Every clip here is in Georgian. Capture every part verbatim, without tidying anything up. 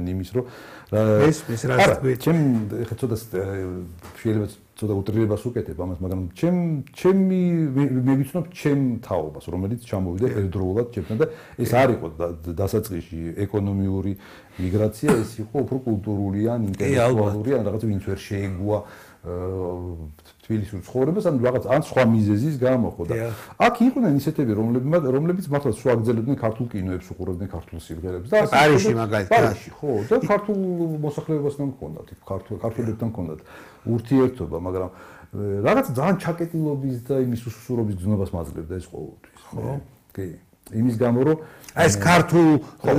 არიან იმის რომ ეს ის რა თქვი ჩემ ეხლა ცოტა შეიძლება ცოტა უტრირებას უკეთებ ამას მაგრამ ჩემ ჩემი მე ვიცნობ ჩემ თაობას რომელიც ჩამოვიდა ერთდროულად ჩემთან და ეს არ იყო დასაწყისში ეკონომიური მიგრაცია ეს იყო უფრო კულტურული ან ინტელექტუალური ან რაღაც ვინც ვერ შეეგუა თბილისის ცხოვრებას ან რაღაც ან სხვა მიზეზის გამო ხო და აქ იყვნენ ისეთები რომლებიც რომლებიც მართლა სულ აგზელებდნენ ქართულ კინოებს უყურებდნენ ქართულ სიმღერებს და პარიზში მაგალითად პარიზში ხო და ქართულ მოსახლეობასთან მქონდათ ქართულ ქართველებთან მქონდათ ურთიერთობა მაგრამ რაღაც ძალიან ჩაკეტილობის და იმის უსუსურობის გზნობას მაძლევდა ეს ყოველთვის ხო კი იმის გამო რომ ეს ქართულ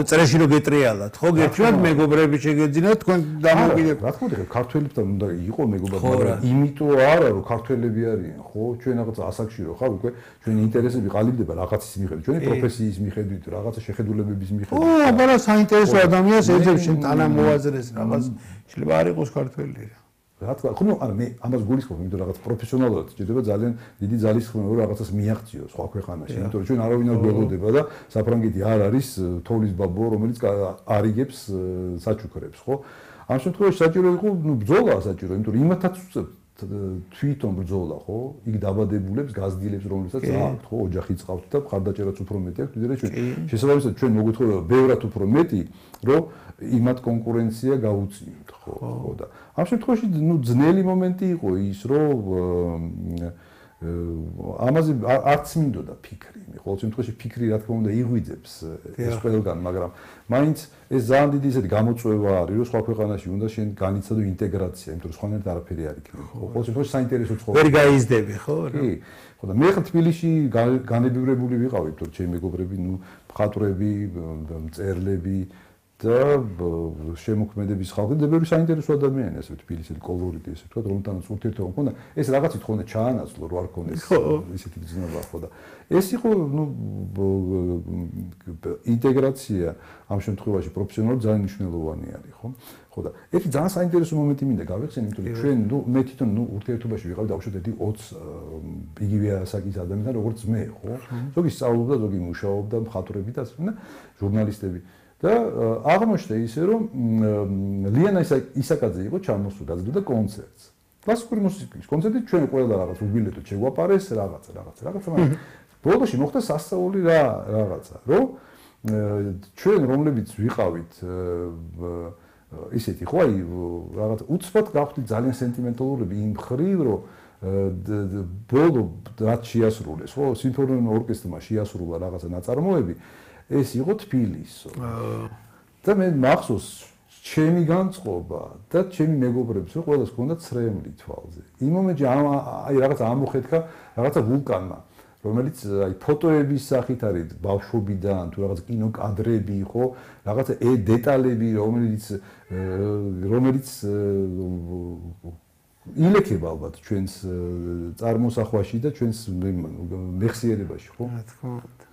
წრეში რო გეტრიალათ ხო გერჩვათ მეგობრები შეგეძინათ თქვენ დამოკიდებ რა თქმა უნდა ქართველებთან უნდა იყო მეგობრები მაგრამ იმიტომ არა რომ ქართველები არიან ხო ჩვენ რაღაც ასაკში რო ხარ უკვე ჩვენი ინტერესები ყალიბდება რაღაცის მიხედვით ჩვენი პროფესიის მიხედვით რაღაცა შეხედულებების მიხედვით ო აბა საინტერესო ადამიანს ეძებს შენ თანამოაზრეს რაღაც შეიძლება არ იყოს ქართველი რა თქმა უნდა, ანუ მე ამას გულისხმობ, იმიტომ რომ რაღაც პროფესიონალურად ჭირდება ძალიან დიდი ძალისხმევა რომ რაღაცას მიაღწიოს სხვა ქვეყანაში, იმიტომ რომ ჩვენ არავინ არ გვეღოდება და საფრანგეთი არ არის თოვლის ბაბო, რომელიც არიგებს საჩუქრებს, ხო? ამ შემთხვევაში საჭირო იყო, ну, ბრძოლა საჭირო, იმიტომ რომ იმათაც თვითონ ბრძოლა, ხო? იქ დაბადებულებს, გაზრდილებს, რომლებსაც აქვთ, ხო, ოჯახი წავთ და მხარდაჭერაც უფრო მეტი აქვს, ვიდრე ჩვენ. შესაბამისად, ჩვენ მოგვეთხოვება ბევრად უფრო მეტი, რომ იმათ კონკურენცია გაუწიოთ, ხო, ხო და ამ შემთხვევაში, ну, ძნელი მომენტი იყო ის, რომ ამაზე არც მინდოდა ფიქრი. ყოველ შემთხვევაში ფიქრი რა თქმა უნდა იღვიძებს ეს ყველგან, მაგრამ მაინც ეს ძალიან დიდი ისეთი გამოწვევა არის, რომ სხვა ქვეყანაში უნდა შენ განიცადო ინტეგრაცია, იმიტომ რომ სხვანაირად არაფერი არ იქნება. ყოველ შემთხვევაში საინტერესო ცხოვრება. ვერ გაიზრდები, ხო? კი. ხო და მე ხა თბილისში განებივრებული ვიყავი, იმიტომ რომ ჩემი მეგობრები, ну, მხატვრები, მწერლები და შემოქმედების ხალხი და ბევრი საინტერესო ადამიანი ასე თბილისელი კოლორიტი ესე ვთქვა რომთანაც ურთიერთობა მქონდა ეს რაღაცით ხონდა ჩაანაცვლო რო არ ქონდეს ისეთი გზნობა ხო და ეს იყო ნუ ინტეგრაცია ამ შემთხვევაში პროფესიონალურად ძალიან მნიშვნელოვანი არის ხო ხო და ერთი ძალიან საინტერესო მომენტი მინდა გავიხსენო იმიტომ რომ ჩვენ ნუ მე თვითონ ნუ ურთიერთობაში ვიყავ დაუშვათ ერთი ოცი იგივე ასაკის ადამიანთან როგორც მე ხო ზოგი სწავლობდა ზოგი მუშაობდა მხატვრები და ასე და ჟურნალისტები და აღმოჩნდა ისე რომ ლიანა ისაკაძე იყო ჩამოსული და კონცერტს. კლასიკური მუსიკის კონცერტი ჩვენ ყველა რაღაც უბილეთო შეგვაპარეს რაღაცა რაღაცა რაღაცა მაგრამ ბოლოში მოხდა სასწაული რა რაღაცა რომ ჩვენ რომლებიც ვიყავით ისეთი ხო აი რაღაც უცბად გავხდით ძალიან სენტიმენტალურები იმ ხრივ რომ ბოლო რაც შეასრულეს ხო სიმფონიურ ორკესტრმა შეასრულა რაღაცა ნაწარმოები ეს იყო თბილისო. და მე მახსოვს ჩემი განწყობა და ჩემი მეგობრებს რომ ყველას ჰქონდა ცრემლი თვალზე. იმ მომენტში აი რაღაც ამოხეთქა რაღაცა ვულკანმა, რომელიც აი ფოტოების სახით არის ბავშვობიდან თუ რაღაც კინოკადრები ხო, რაღაცა ე დეტალები, რომელიც რომელიც ილექება ალბათ ჩვენს წარმოსახვაში და ჩვენს მეხსიერებაში ხო? რა თქმა უნდა.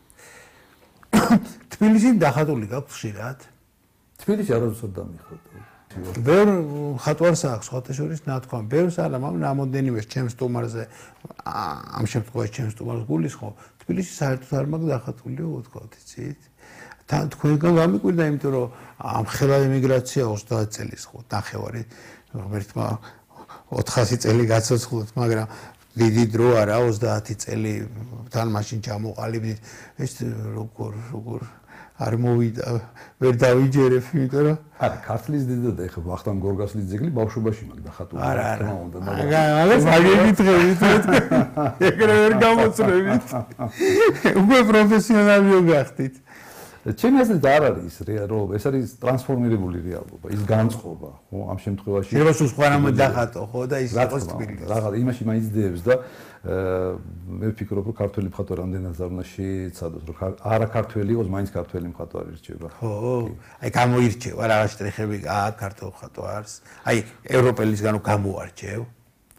თბილისში დახატული გაქვს ხშირად? თბილისში არასდროს დამიხატა. ბევრ ხატვარს აქვს სხვათა შორის ნათქვამი. ბევრს არა, მაგრამ რამოდენიმე ჩემს სტუმარზე ამ შემთხვევაში ჩემს სტუმარს გულისხმობ. თბილისში საერთოდ არ მაქვს დახატულიო ვთქვათ, იცით? თან თქვენგან გამიკვირდა, იმიტომ რომ ამ ხელა ემიგრაცია ოცდაათი წელის ხო, ნახევარი ღმერთმა ოთხასი წელი გაცოცხლოთ, მაგრამ დიდი დრო არა ოცდაათი წელი თან მაშინ ჩამოყალიბდით ეს როგორ როგორ არ მოვიდა ვერ დავიჯერებ იმიტომ რომ არა ქართლის დედა და ეხლა ვახტანგ გორგასლის ძეგლი ბავშვობაში მაგ დახატული არა არა მაგას აგეკითხებით ეგრე ვერ გამოცრებით უკვე პროფესიონალიო გახდით ჩემი აზრით არ არის რომ ეს არის ტრანსფორმირებული რეალობა ის განწყობა ხო ამ შემთხვევაში შეიძლება სულ სხვა რამე დახატო ხო და ის იყოს თბილისი რაღაც იმაში მაინც დევს და მე ვფიქრობ რომ ქართველი მხატვარი რამდენად არ უნდა შეეცადოს რომ არა ქართველი იყოს მაინც ქართველი მხატვარი რჩება ხო აი გამოირჩევა რაღაც შტრიხები აქ ქართულ მხატვარს აი ევროპელისგან გამოარჩევ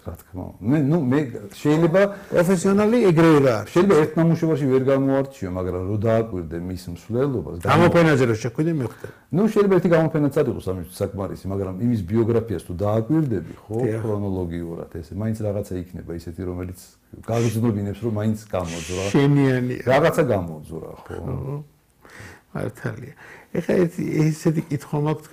რა თქმა უნდა მე ნუ მე შეიძლება პროფესიონალი ეგრევე რა შეიძლება ერთ ნამუშევარში ვერ გამოარჩიო მაგრამ რო დააკვირდე მის მსვლელობას გამოფენაზე რო შეხვიდე მივხვდი ნუ შეიძლება ერთი გამოფენაც არ იყოს ამის საკმარისი მაგრამ იმის ბიოგრაფიას თუ დააკვირდები ხო ქრონოლოგიურად ესე მაინც რაღაცა იქნება ისეთი რომელიც გაგრძნობინებს რომ მაინც გამოძრა შენიანი რაღაცა გამოძრა ხო მართალია ეხლა ესეთი კითხვა მაქვს